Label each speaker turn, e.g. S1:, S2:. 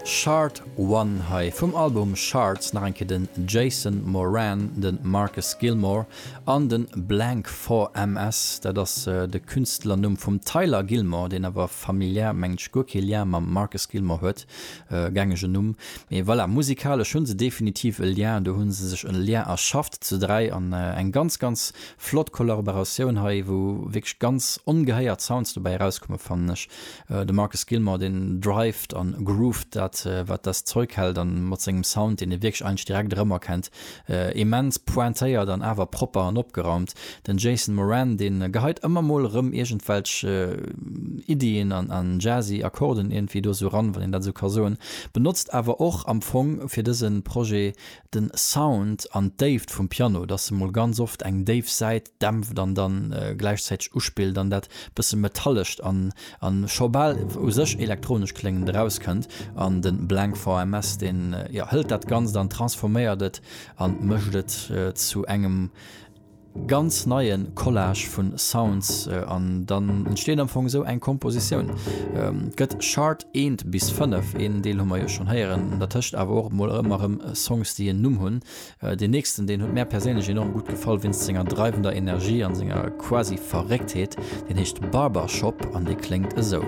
S1: Shard One hei vum Album Shards, nach eng Kéier den Jason Moran, de Marcus Gilmore an de Blank 4MS. Dat ass de Künstlernumm vum Tyler Gilmore, deen awer familiär, mengen ech, guer kee Lien mam Marcus Gilmore huet. Gängegen Numm. Mee voilà, musikalesch hu se definitiv e Lien, do hu se sech e Lien erschafft zu 3 an eng ganz, ganz flott Kollaboratioun hei, wou wierklech ganz ongehéiert Sounds dobäi erauskommen, fannen ech. De Marcus Gilmore, deen drived an grooved dat wat das Zeug hält an mat sengem Sound, deen ee wierklech eigentlech direkt erëmerkennt, immens pointéiert an awer propper an opgeraumt. Den Jason Moran, deen geheit ëmmer mol erëm iergendwelch Iddien an jazzy Akkorden iergendwéi do sou ran, wann een dat sou ka soen, benotzt awer och am Fong fir dëse Projet den Sound an d'Déift vum Piano, dass e mol ganz oft eng déif Säit dämpft an dann gläichzäiteg uspillt an dat bësse metallescht an an scho bal u sech elektronesch kléngend erauskënnt. An de Blank VMS deen jo hëlt dat Ganzt an transforméiert et an mécht et zu engem ganz neie Collage vun Sounds an dann entsteet am Fong esou eng Kompositioun. Et gëtt Chart eent bis 5, een Deel hu mer jo schonn héieren, dertëscht awer och emol ëmmer erëm Songs déi en Numm hunn. Deen nächsten deen huet mär perséinlech enorm gutt gefall wéinst senger dreiwender Energie an senger quasi Verrécktheet, deen heescht Barbershop an dee kléngt esou.